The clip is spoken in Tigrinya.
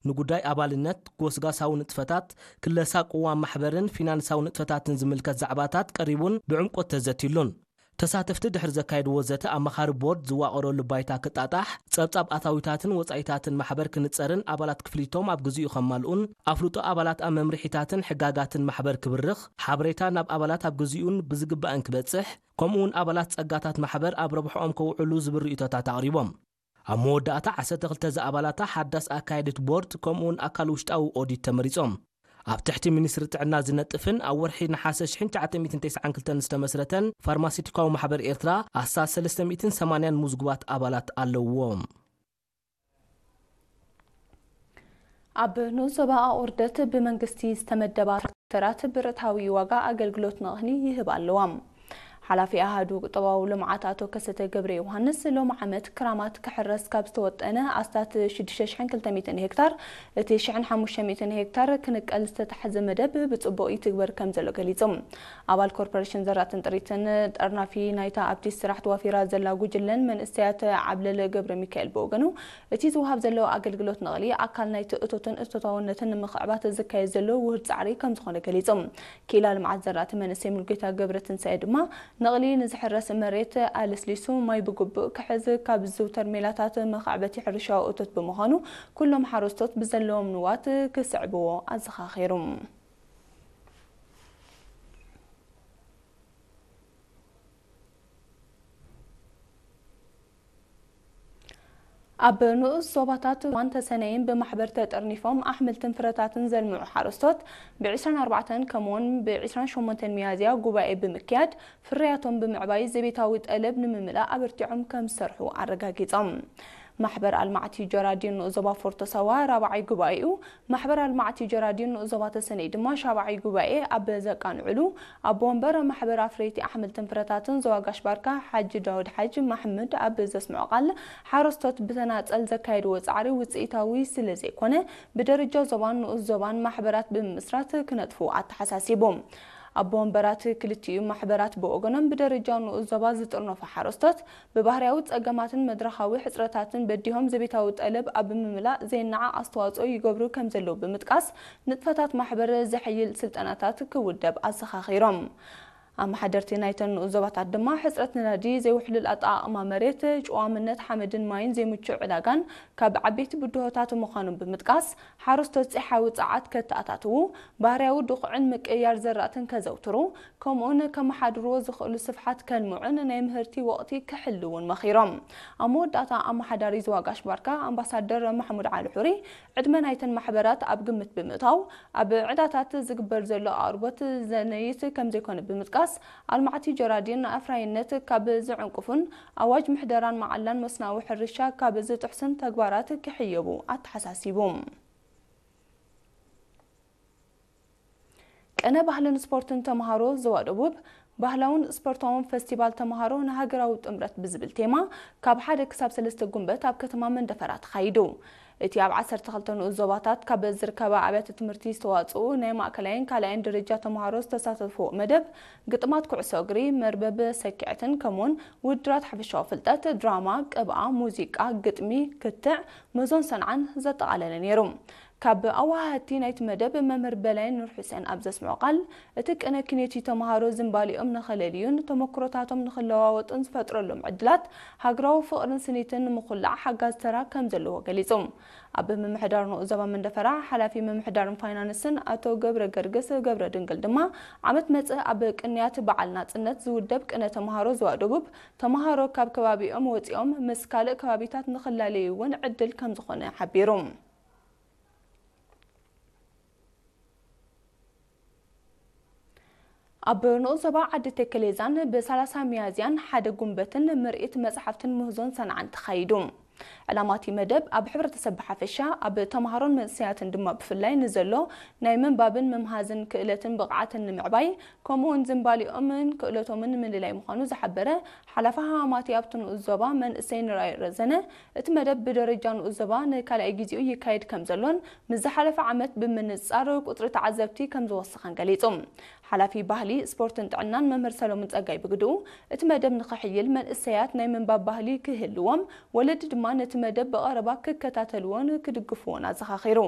ንጉዳይ ኣባልነት፣ ጎስጋሳዊ ንጥፈታት፣ ክለሳ ቅዋም ማሕበርን ፊናንሳዊ ንጥፈታትን ዝምልከት ዛዕባታት ቀሪቡን ብዕምቆት ተዘትዩሉን። ተሳተፍቲ ድሕሪ ዘካየድዎ ዘተ ኣማኻሪ ቦርድ ዝዋቐረሉ ባይታ ክጣጣሕ፣ ጸብጻብ ኣታዊታትን ወጻኢታትን ማሕበር ክንጸርን ኣባላት ክፍሊቶም ኣብ ግዚኡ ከማልኡን ኣፍልጦ ኣባላት ኣብ መምርሒታትን ሕጋጋትን ማሕበር ክብርኽ፣ ሓበሬታ ናብ ኣባላት ኣብ ግዚኡን ብዝግባእን ክበጽሕ፣ ከምኡውን ኣባላት ጸጋታት ማሕበር ኣብ ረብሕኦም ከውዕሉ ዝብል ርእይቶታት ኣቕሪቦም። ኣብ መወዳእታ ዓሰርተ ክልተ ዝኣባላታ ሓዳስ ኣካየዲት ቦርድ ከምኡውን ኣካል ውሽጣዊ ኦዲት ተመሪጾም። ኣብ ትሕቲ ሚኒስትሪ ጥዕና ዝነጥፍን ኣብ ወርሒ ነሓሰ ሽሕን ትሽዓተ ሚእትን ተስዓን ክልተን ዝተመስረተን ፋርማሲቲካዊ ማሕበር ኤርትራ ኣስታት ሰለስተ ሚእትን ሰማንያን ምዝጉባት ኣባላት ኣለውዎ። ኣብ ንኡስ ዞባ ኣቑርደት ብመንግስቲ ዝተመደባ ትራክተራት ብርእታዊ ዋጋ ኣገልግሎት ንቕኒ ይህባ ኣለዋ። ሓላፊ ኣሃዱ ቁጠባዊ ልምዓት ኣቶ ከሰተ ገብረ ዮሃንስ፣ ሎሚ ዓመት ክራማት ክሕረስ ካብ ዝተወጠነ ኣስታት ሽዱሽተ ሽሕን ክልተ ሚእትን ሄክታር፣ እቲ ሽሕን ሓሙሽተ ሚእትን ሄክታር ክንቀል ዝተታሕዘ መደብ ብጽቡቕ ይትግበር ከም ዘሎ ገሊጹ። ኣባል ኮርፖሬሽን ዘራእትን ጥሪትን ጠርናፊ ናይታ ኣብቲ ስራሕ ተዋፊራ ዘላ ጉጅለን መንእሰያት ዓብለል ገብረ ሚካኤል ብወገኑ፣ እቲ ዝወሃብ ዘሎ ኣገልግሎት ንቕሊ ኣካል ናይቲ እቶትን እቶታውነትን ንምኽዕባት ዝካየድ ዘሎ ውህድ ጻዕሪ ከም ዝኾነ ገሊጹ። ክኢላ ልምዓት ዘራእቲ መንእሰይ ሙሉጌታ ገብረትንሳኤ ድማ፣ ንቕሊ ንዝሕረስ መሬት ኣለስሊሱ ማይ ብግቡእ ክሕዝ ካብ ዝዝውተር ሜላታት መኻዕበቲ ሕርሻዊ እቶት ብምዃኑ፣ ኩሎም ሓረስቶት ብዘለዎም ንዋት ክስዕብዎ ኣዘኻኺሩ። ኣብ ንኡስ ዞባታት ዋን ተሰነይን ብማሕበር ተጠርኒፎም ኣሕምልትን ፍረታትን ዘልምዑ ሓረስቶት ብ ዕስራን ኣርባዕተን ከምኡውን ብ ዕስራን ሸሞንተን ሚያዝያ ጉባኤ ብምክያድ ፍርያቶም ብምዕባይ ዘቤታዊ ጠለብ ንምምላእ ኣበርቲዖም ከም ዝሰርሑ ኣረጋጊጾም። ማሕበር ኣልማዕቲ ጀራዲን ንኡስ ዞባ ፎርቶ ሳዋ ራብዓይ ጉባኤኡ፣ ማሕበር ኣልማዕቲ ጀራዲን ንኡስ ዞባ ተሰነይ ድማ ሻብዓይ ጉባኤ ኣብ ዘቃንዕሉ፣ ኣቦ ወንበር ማሕበር ኣፍረይቲ ኣሕምልትን ፍረታትን ዞባ ጋሽ ባርካ ሓጂ ዳውድ ሓጂ ማሕሙድ ኣብ ዘስምዖ ቃል፣ ሓረስቶት ብተናጸል ዘካየድዎ ጻዕሪ ውጽኢታዊ ስለ ዘይኮነ፣ ብደረጃ ዞባን ንኡስ ዞባን ማሕበራት ብምምስራት ክነጥፉ ኣተሓሳሲቡ። ኣቦ ወንበራት ክልቲኡ ማሕበራት ብወገኖም፣ ብደረጃ ንኡስ ዞባ ዝጥርነፉ ሓረስቶት ብባህርያዊ ጸገማትን መድረኻዊ ሕጽረታትን በዲሆም ዘቤታዊ ጠለብ ኣብ ምምላእ ዘይነዓቕ ኣስተዋጽኦ ይገብሩ ከም ዘለዉ ብምጥቃስ፣ ንጥፈታት ማሕበር ዘሐይል ስልጠናታት ክውደብ ኣዘኻኺሮም። ኣመሓደርቲ ናይተን ንኡስ ዞባታት ድማ ሕጽረት ነዳዲ፣ ዘይውሕሉል ኣጠቓቕማ መሬት፣ ጭዋምነት ሓመድን ማይን ዘይምቹእ ዕዳጋን ካብ ዓበይቲ ብድሆታት ምዃኖም ብምጥቃስ፣ ሓረስቶት ጸሓያዊ ጸዓት ከተኣታትዉ፣ ባህርያዊ ድኹዕን ምቅይያር ዘራእትን ከዘውትሩ፣ ከምኡውን ከመሓድርዎ ዝኽእሉ ስፍሓት ከልምዑን ናይ ምህርቲ ወቕቲ ክሕልውን መኺሮም። ኣብ መወዳእታ ኣመሓዳሪ ዞባ ጋሽ ባርካ ኣምባሳደር ማሕሙድ ዓሊ ሑሪ፣ ዕድመ ናይተን ማሕበራት ኣብ ግምት ብምእታው፣ ኣብ ዕዳታት ዝግበር ዘሎ ኣቕርቦት ዘነይት ከም ዘይኮነ ብምጥቃስ፣ ኣልማዕቲ ጀራዲን ንኣፍራይነት ካብ ዝዕንቅፉን ኣዋጅ ምሕደራን መዓላን መስናዊ ሕርሻ ካብ ዝጥሕሱን ተግባራት ክሕየቡ ኣተሓሳሲቡ። ቅነ ባህልን ስፖርትን ተምሃሮ ዞባ ደቡብ፣ ባህላውን ስፖርታውን ፈስቲቫል ተምሃሮ ንሃገራዊ ጥምረት ብዝብል ቴማ፣ ካብ ሓደ ክሳብ ሰለስተ ጉንበት ኣብ ከተማ መንደፈራ ተኻይዱ። እቲ ኣብ ዓሰርተ ክልተ ንኡስ ዞባታት ካብ ዝርከባ ኣብያተ ትምህርቲ ዝተዋጽኡ ናይ ማእከላይን ካልኣይን ደረጃ ተምሃሮ ዝተሳተፍዎ መደብ፣ ግጥማት ኩዕሶ እግሪ፣ መርበብ ሰኪዐትን ከምኡውን ውድድራት ሓፈሻዊ ፍልጠት፣ ድራማ፣ ቅብኣ፣ ሙዚቃ፣ ግጥሚ፣ ክትዕ፣ መዞን ሰንዓን ዘጠቓለለ ነይሩ። ካብ ኣወሃህድቲ ናይቲ መደብ መምህር በላይ ኑር ሑሴን ኣብ ዘስምዖ ቃል፣ እቲ ቅነ ኪኔቲ ተምሃሮ ዝንባሊኦም ንኸለልዩን ተመክሮታቶም ንኽለዋወጡን ዝፈጥረሎም ዕድላት፣ ሃገራዊ ፍቕርን ስኒትን ንምኹላዕ ሓጋዚ ተራ ከም ዘለዎ ገሊጹ። ኣብ ምምሕዳር ንኡስ ዞባ መንደፈራ ሓላፊ ምምሕዳርን ፋይናንስን ኣቶ ገብረ ገርግስ ገብረ ድንግል ድማ፣ ዓመት መጽእ ኣብ ቅንያት በዓል ናጽነት ዝውደብ ቅነ ተምሃሮ ዞባ ደቡብ፣ ተምሃሮ ካብ ከባቢኦም ወጺኦም ምስ ካልእ ከባቢታት ንኽላለዩ እውን ዕድል ከም ዝኾነ ሓቢሩ። ኣብ ንኡስ ዞባ ዓዲ ተከሌዛን ብ ሰላሳ ሚያዝያን ሓደ ጉንበትን ምርኢት መጽሓፍትን ምህዞን ሰንዓን ተኻይዱ። ዕላማ እቲ መደብ ኣብ ሕብረተሰብ ብሓፈሻ፣ ኣብ ተምሃሮን መንእሰያትን ድማ ብፍላይ ንዘሎ ናይ ምንባብን ምምሃዝን ክእለትን ብቕዓትን ንምዕባይ፣ ከምኡውን ዝንባሊኦምን ክእለቶምን ንምልላይ ምዃኑ ዝሓበረ ሓላፊ ሃማማቲ ኣብቲ ንኡስ ዞባ መንእሰይ ንርኣይ ረዘነ፣ እቲ መደብ ብደረጃ ንኡስ ዞባ ንካልኣይ ግዜኡ ይካየድ ከም ዘሎን ምስ ዝሓለፈ ዓመት ብምንጻር ቁጽሪ ተዓዘብቲ ከም ዝወሰኸን ገሊጹ። ሓላፊ ባህሊ፣ ስፖርትን ጥዕናን መምህር ሰሎሞን ጸጋይ ብግድኡ፣ እቲ መደብ ንኽሕይል መንእሰያት ናይ ምንባብ ባህሊ ክህልዎም፣ ወለዲ ድማ ነቲ መደብ ብቐረባ ክከታተልዎን ክድግፍዎን ኣዘኻኺሩ።